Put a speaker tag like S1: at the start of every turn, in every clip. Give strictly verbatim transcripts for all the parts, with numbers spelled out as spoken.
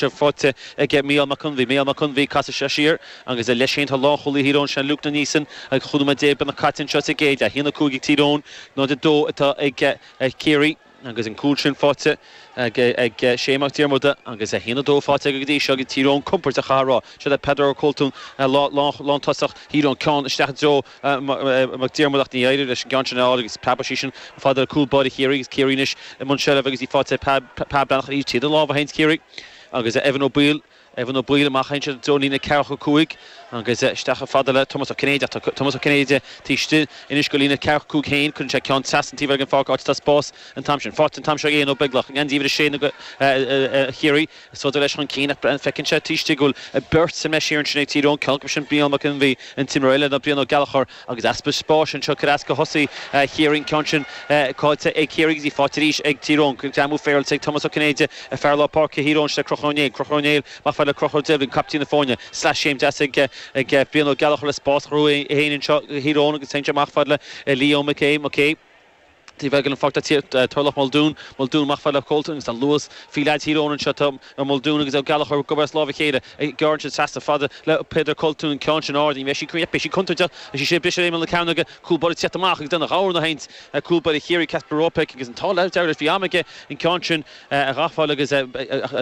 S1: Faighte ag Mícheál Mac Conmhaí, Mícheál Mac Conmhaí, casadh sé siar agus leis féin tá lánchúlaí Thír Eoghain, sin Luke Neeson, agus chúig nóiméad déag beagnach caite anseo sa gcéad leath. A haon a cúig ag Tír Eoghain, náid a dó atá ag Ciarraí agus an cúl sin faighte ag Shane Mac Diarmuda agus a haon a dó faighte aige go dtí seo agus Tír Eoghain compordach a rá. Seo le Peadar Ó Coltúin, lántosach Thír Eoghain, ceann isteach i dtreo Mac Diarmuda ach ní éireoidh leis an gceann sin a fháil agus preabfaidh sí sin fada le cúl báire Chiarraí agus Ciarraí anois i mbun seilbhe agus í faighte ag Pat Breathnach arís tríd an lámh a théann Ciarraí agus Evan Ó Baoill, Evan Ó Baoill amach ansin i dtreo líne ceathracha cúig agus isteach fada le Tomás Ó Cinnéide. Tá Tomás Ó Cinnéide taobh istigh anois go líne ceathracha cúig féin. Cuireann sé ceann trasna an taobh eile den pháirc, áit atá spás an t-am sin. Faighte an t-am seo ag Éanna Ó Beaglaoich, geansaí uimhir a sé Chiarraí. Sodar leis chun cinn ach feiceann sé taobh istigh go bhfuil beirt sa mbreis thiar ansin ag Tír Eoghain. Ceann acu sin Brian Mac Fhionn an t-imreoir eile ná Brian Ó Gallchóir agus easpa spáis anseo ag cur as do thosaí Chiarraí. An ceann sin caillte ag Ciarraí agus í faighte arís ag Tír Eoghain. Greamú féaráilte ag Tomás Ó Cinnéide, fear lár páirce Thír Eoghain, le Conchúr Ó Néill. Conchúr Ó Néill amach fad le Conchúr Devlin, captaen na foirne. Sleaschéim deas ag ag Brian Ó Gallchóir le spás a chruthú é féin anseo do Thír Eoghain agus téann sé amach fad le Leo McKay. McKay taobh eile den pháirc tá Turlough Muldoon. Muldoon amach fad le Colton agus tá luas faoi leaids Thír Eoghain anseo. Tá Muldoon agus Ó Gallchóir ag obair as lámh a chéile. Ag gearradh ansin trasna fada le Peadar Colton, an ceann sin ard. Ní bheidh sí beidh sí contúirteach. Is í sin briseadh ar imeall na cearnóige. Cúl báire ag teacht amach agus déanamh ghabhar na haint cúl báire Chiarraí, Kacper Ropek, agus an t-ádh dearg leis bhí am aige an ceann sin a ghabháil agus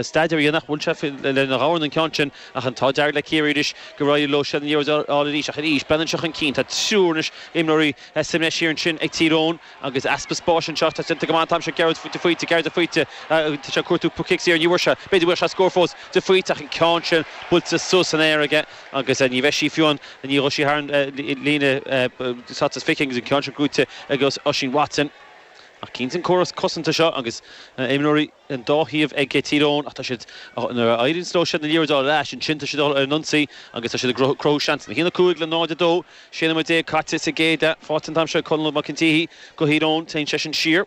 S1: staidéar a dhéanamh. Bhuail sé lena ghabhar an ceann sin ach an t-ádh dearg le Ciarraí arís gur éirigh leo siad an liathróid a fháil arís ach arís breathnaíonn seo chun cinn. Tá triúr anois imreoirí sa mbreis thiar ansin ag Tír Eoghain agus easpa spáis anseo. Tá déanta go maith an t-am seo Gearóid de Faoite, Gearóid de Faoite, tá sé ag cuartú cic saor, ní bhfuair sé, b'fhéidir go bhfuil sé scór fós de Faoite ach an ceann sin buailte suas san aer aige agus ní bheidh sí fiú ann, ní ghabhfaidh sí thar an líne slat is fiche agus an ceann sin gnóite ag Oisín Watson. Ach cinnte an córas cosanta seo agus imreoirí an dá thaobh ag Tír Eoghain ach tá siad, nuair a éiríonn leo siad na liathróid a fháil ar ais, ansin tá siad ar an ionsaí agus tá siad ag cruthú seansanna. A haon a cúig le náid a dó, sé nóiméad déag caite sa gcéad leath. Faighte an t-am seo ag Conall Mac an tSíthigh do Thír Eoghain, téann seisean siar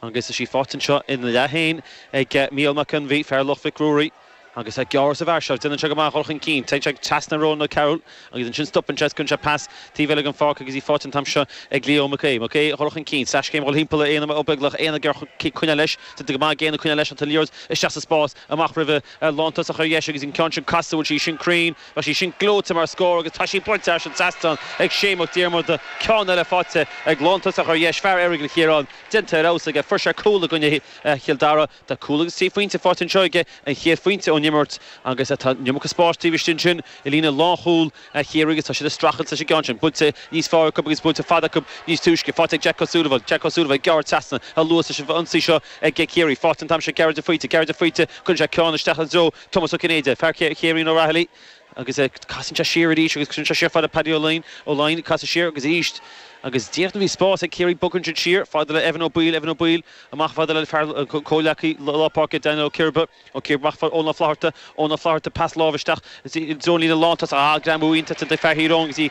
S1: agus tá sí faighte anseo ina leath féin ag Mícheál Mac Fhionn, fear Loch Mhic Ruairí. Agus é gearr sa bhfear seo, déanann sé go maith a dhul chun cinn. Téann sé trasna Ronan O'Carroll agus ansin stopann sé is cuireann sé pas taobh eile den pháirc agus í faighte an t-am seo ag Leo McKay. McKay a dhul chun cinn, sleaschéim a dhul thimpeall ar Éanna Ó Beaglaoich, Éanna ag iarraidh coinneáil leis, déanta go maith ag Éanna coinneáil leis ach tá an liathróid isteach sa spás, amach roimhe lántosach ar dheis agus an ceann sin casta, bhfuil sí sin cruinn, bheadh sí sin gleoite mar scór agus tá sí bainte thar an trasnán ag Shane Mac Diarmada, ceann eile faighte ag lántosach ar dheis, fear Errigal Chiaráin, déanta ar fheabhas aige, fuair sé cúl i gcoinne Chill Dara. Tá cúl agus trí phointe faighte anseo aige, an chéad phointe ón imirt agus tá an iomarca spáis taobh istigh ansin i líne lánchúl Chiarraí agus tá siad ag streachailt leis an gceann sin. Buailte níos fearr acu agus buailte fada acu níos túisce. Faighte ag Jack O'Sullivan. Jack O'Sullivan ag gearradh trasna a luas leis an ionsaí seo ag Ciarraí. Faighte an t-am seo ag Gearóid de Faoite. Gearóid de Faoite, cuireann sé ceann isteach i dtreo Tomás Ó Cinnéide, fear Chiarraí O'Rahilly agus casann sé siar arís agus cuireann sé siar fada Paddy Ó Laighin, Ó Laighin, casadh siar agus arís agus díreach nuair a bhí spás ag Ciarraí bogann siad siar fada le Evan Ó Baoill, Evan Ó Baoill amach fada le fear comhghleacaí lár páirce Daniel Ó Ciarba, Ó Ciarba amach fada Eoin Ó Flatharta, Eoin Ó Flatharta pas láimhe isteach i dtreo an líne lántosach, ah greamú iontach de fear Thír Eoghain agus í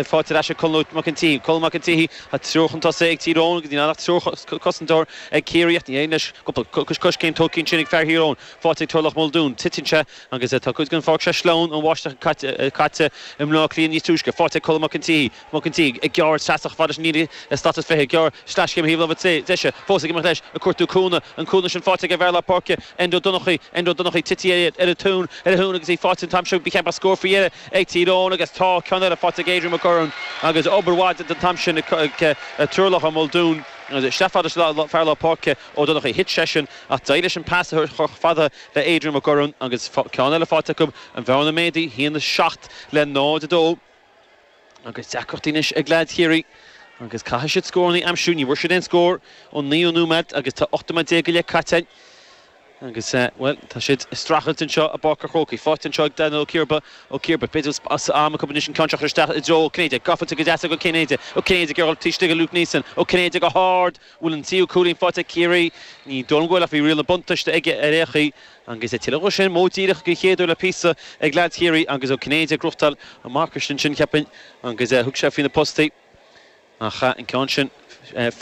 S1: faighte ar ais ag Colm Mac an tSíthigh, Colm Mac an tSíthigh, tá triúr chun tosaigh ag Tír Eoghain agus níl ann ach triúr cosantóir ag Ciarraí ach ní éiríonn leis cúpla coiscéim tógtha ansin ag fear Thír Eoghain, faighte ag Turlough Muldoon, titeann sé agus tá cuid den pháirc sé sleamhain ón bháisteach caite i mBleá Cliath níos túisce. Faighte ag Colm Mac an tSíthigh, Mac an tSíthigh ag gearradh trasna chomh fada leis an líne slat is fiche, gearradh sleaschéim ar thaobh láimhe deise, fós ag imeacht leis, ag cuartú cúnamh, an cúnamh sin faighte ag an bhfear lár páirce, Enda Ó Donnchaidh, Enda Ó Donnchaidh tití ar a thóin, ar a thóin agus í faighte an t-am seo, ba cheart scór faoi dheireadh ag Tír Eoghain agus tá ceann eile faighte ag Adrian McGurran agus obair mhaith déanta an t-am sin ag Turlough Muldoon. Isteach fada leis fear lár páirce Ó Donnchaidh, thit seisean ach d'éirigh leis an pas a chur fada le Adrian McGurran agus ceann eile faighte acu, an bhearna méadaithe, a haon a seacht le náid a dó. Agus deacrachtaí anois ag leaids Chiarraí agus caithfidh siad scóranna a aimsiú. Ní bhfuair siad aon scór ón naoú nóiméad agus tá ocht nóiméad déag go leith caite. Agus, bhuel, tá siad ag streachailt anseo i bPáirc an Chrócaigh. Faighte anseo ag Daniel Ó Ciarba, Ó Ciarba, b'fhéidir as am acu anois an ceann seo a chur isteach i dtreo Ó Cinnéide. Gafa go deas ag Ó Cinnéide. Ó Cinnéide ag iarraidh taobh istigh de Luke Neeson. Ó Cinnéide go hard. Bhfuil an tríú cúilín faighte ag Ciarraí? Ní dóigh liom go bhfuil ach bhí riail na buntáiste aige ar aon chaoi. Agus tuilleadh de sin, modh díreach den chéad uair le píosa ag leaids Chiarraí agus Ó Cinnéide ag gnóthachtáil an marcais ansin, cheapfainn, agus thug sé faoi na postaí. Ach an ceann sin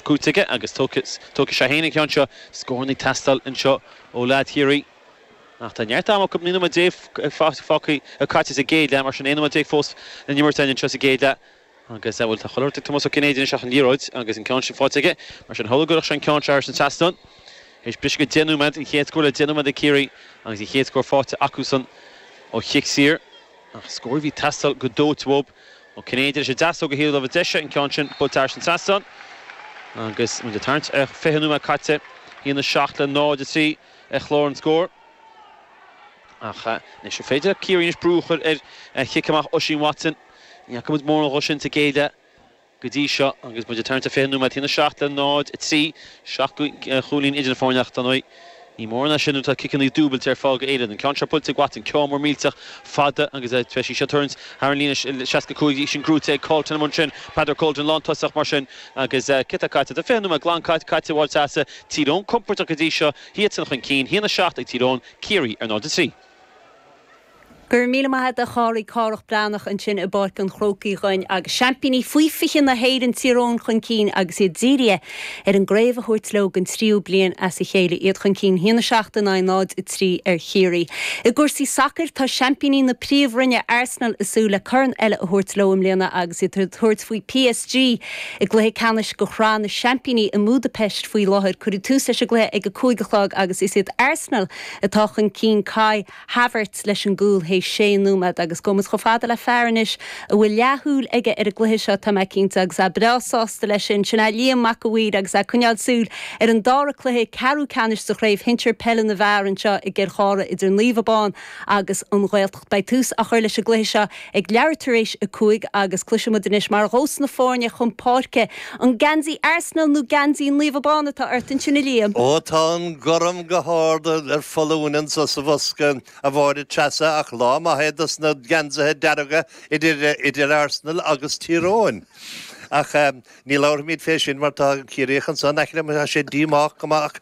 S1: cúite aige agus tógfaidh sé féin an ceann seo. Scóranna ag teastáil anseo ó leaid Chiarraí. Ach tá neart ama acu, naoi nóiméad déag fágtha caite sa gcéad leath, mar sin aon nóiméad déag fós le n-imirt againn anseo sa gcéad leath. Agus, bhuel, tá chuile shórt ag Tomás Ó Cinnéide anois ach an liathróid agus an ceann sin faighte aige. Mar sin, shula gcuirfeadh sé an ceann seo thar an trasnán. Théis briseadh go deich nóiméad, an chéad scór le deich nóiméad ag Ciarraí agus an chéad scór faighte acusan ó chic saor. Ach scór a bhí ag teastáil go dóite uathu. Ó Cinnéide leis an deasóg ó thaobh na láimhe deise, an ceann sin buailte thar an trasnán. Agus muid ag tarraingt ar fiche nóiméad caite, a haon a seacht le náid a trí ar chlár an scóir. Ach anois an féidir le Ciarraí anois brú a chur ar chic amach Oisín Watson? Ní fhaca muid mórán dhó sin sa gcéad leath go dtí seo agus muid ag tarraingt ar fiche nóiméad, a haon a seacht le náid a trí, seacht gcúilín idir na foirne ach dar ndóigh ní mórán é sin nuair atá ciceanna dúbailte ar fáil go Éirinn. An ceann seo buailte ag Watson, ceann mór millteach fada agus beidh sí seo ag tarraingt thar an líne seasca cúig, í sin gnóite ag Colton amuigh ansin, Peadar Colton lántosach mar sin agus cé atá caite? Tá fiche nóiméad glan caite a Mháire Treasa, Tír Eoghain compordach go dtí seo, iadsan chun cinn, a haon a seacht ag Tír Eoghain, Ciarraí ar náid a trí.
S2: Go raibh míle maith agat a Chárthaigh, Cárthach Breathnach ansin i bPáirc an Chrócaigh dhúinn agus seaimpíní faoi fiche na hÉireann Tír Eoghain chun cinn agus iad dírithe ar an gcraobh a thabhairt leo don tríú bliain as a chéile, iad chun cinn a haon a seacht in aghaidh náid a trí ar Chiarraí. I gcúrsaí sacair tá seaimpíní na Príomhroinne Arsenal ag súil le corn eile a thabhairt leo i mbliana agus iad ag tabhairt faoi P S G i gcluiche ceannais de Shraith na Seaimpíní i mBudapest faoi láthair. Cuireadh tús leis an gcluiche ag a cúig a chlog agus is iad Arsenal atá chun cinn, Kai Havertz leis an gcúl théis sé nóiméad agus gabhfaidh muid chomh fada le fear anois a bhfuil leathshúil aige ar an gcluiche seo tá mé cinnte agus é breá sásta leis sin sin é Liam Mac a' Mhaoir agus é ag coinneáil súil ar an dara cluiche ceathrú ceannais sa chraobh shinsir peile na bhfear anseo i gCill Chartha idir Naomh Abán agus an Ghaeltacht. Beidh tús á chur leis an gcluiche seo ag leathuair tar éis a cúig agus cloisfimid anois mar a ghabhfas na foirne chun páirce an geansaí Arsenal nó geansaí Naomh Abán atá ort ansin a Liam.
S3: Ó tá an gorm go hard ar foluain anseo sa bhosca a Mháire Treasa ach lá maith dos na geansaithe dearga idir idir Arsenal agus Tír Eoghain. Ach um, ní labhróimid fé sin mar tá Ciarraíoch ansan aice sé díomách go maith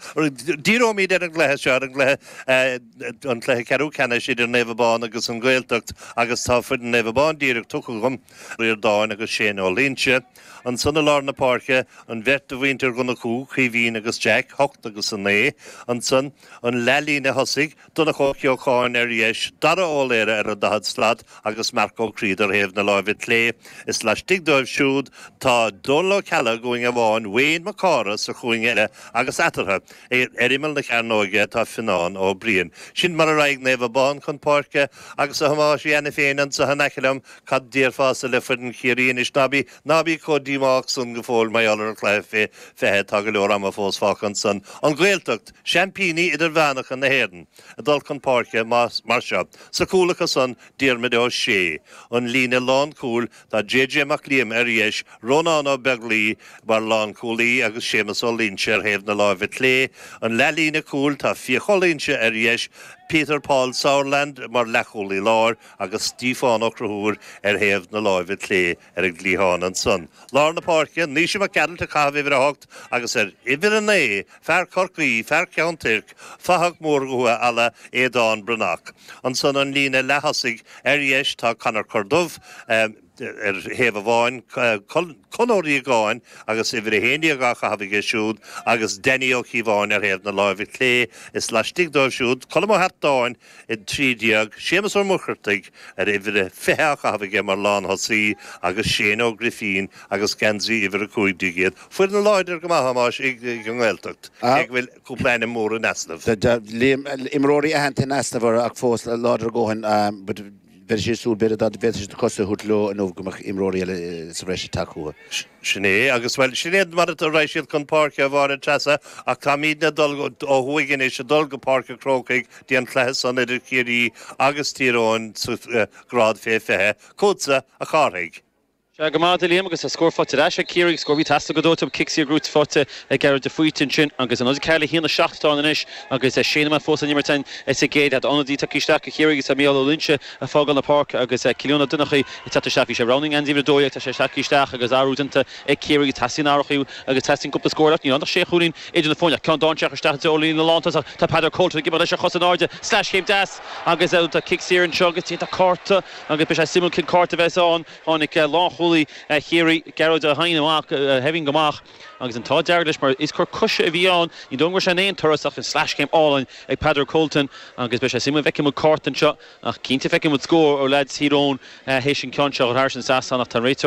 S3: díreoimid ar an gcluiche seo ar an gcluiche an cluiche ceathrú ceannais idir Naomh Abán agus an Ghaeltacht agus tá foireann Naomh Abán díreach tugtha agam Ríordáin agus Shane Ó Loinsigh. Ansan i lár na páirce an bheirt de mhuintir Dhonnchú, Caoimhín agus Jack, hocht agus a naoi, ansan an leathlíne thosaigh Donncha Ó Ceocháin ar dheis, Dara Ó Laoire ar an daichead slat agus Marc Ó Críod ar thaobh na láimhe clé. Is laistigh dóibh siúd tá Dónal Ó Ceallaigh i gcúinne amháin, Wayne Mac Cárthaigh sa chúinne eile agus eatarthu ar imeall na cearnóige tá Fionnán Ó Briain. Sin mar a raghaidh Naomh Abán chun páirce agus a Thomáis Anna féin anseo in aice liom cad déarfása le foireann Chiarraí anois ná bí ná bí chomh díomách san go fóill mar ar an chluiche fé fiche tá go leor ama fós fágtha ansan. An Ghaeltacht, seaimpíní idirmheánacha na hÉireann, a dul chun páirce mar seo. Sa chúl acusan Diarmuid Ó Sé, an líne lánchúil tá J J Mac Liam ar dheis, Rónán Ó Beaglaoich mar lánchúlaí agus Séamus Ó Loinsigh ar thaobh na láimhe clé, an leathlíne cúil tá Fiach Ó Loinsigh ar dheis, Peter Paul Sauerland mar leathchúlaí láir agus Stiofán Ó Conchúir ar thaobh na láimhe clé ar an gcliathán ansan. Lár na páirce, Naoise Mac Gearailt ag caitheamh uimhir a hocht agus ar uimhir a naoi, fear Chorcaí, fear Cheann Toirc, fathach mór Dhúiche Ealla Aodán Breathnach. Ansan an líne leath-thosaigh ar dheis tá Conor Corduff, um, ar thaobh amháin Con Ó Riagáin agus uimhir a haon déag á chaitheamh aige siúd agus Danny Ó Cíobháin ar thaobh na láimhe clé is laistigh dóibh siúd Colm Ó hEachtáin i trí déag Séamus Ó Muircheartaigh ar uimhir fiche á chaitheamh aige mar lánthosaí agus Shane Ó Grifín agus geansaí uimhir a cúig déag iad. Foireann láidir go maith amáis ag an nGaeltacht ag bhfuil cúpla ainm mór in easnamh.
S4: Imreoirí aitheanta in easnamh ach fós láidir go dóthain. Bheir sé súil b'fhéidir dá bhféadfadh siad cosa a thabhairt leo nó go mbeadh imreoirí eile sa bhreis tacuha.
S3: Sin é agus well sin é mar a raghaidh siad chun páirce a Mháire Treasa ach táimidne dul ó thuaidh anois ag dul go Páirc an Chrócaigh dtí an cluiche san idir Ciarraí agus Tír Eoghain sa grád fé fiche, Chugatsa a Chárthaigh.
S1: Sea go maith Liam agus a scór faighte ar ais ag Ciarraí scór bhí teastáil go dóite cic saor gnóite faighte ag Gearóid de Faoite ansin agus an ceathair le haon a seacht anois agus sé nóiméad fós an imirt sa gcéad leath ionadaí tagtha isteach do Chiarraí agus Mícheál Ó Loinsigh ag fágáil na páirce agus Cillian Ó Donnchaidh ag teacht isteach bhí sé roghnaithe an uimhir a dó tá sé isteach isteach agus athrú déanta ag Ciarraí agus teastaíonn athrú agus teastaíonn cúpla scór ní an sé chúilín idir na foirne ceann dainséarach isteach ó líne lántosach tá Peadar Colton ag imeacht leis a chos in airde sleaschéim deas agus tá cic saor anseo agus tá cárta agus be sé simú cin cárta bheith ann tháinig lánchúlaí Chiarraí Gearóid Ó hEidhin amach heaving go amach agus an t-ádh dearg leis mar is cor coise a bhí ann ní dóigh sé aon turas ach an sleaschéim álainn ag Peadar Colton agus be sé simú feicfimid cárta anseo ach cinnte feicfimid scór ó leaids Thír Eoghain théis an ceann seo thar an trasnán ach tá réiteoir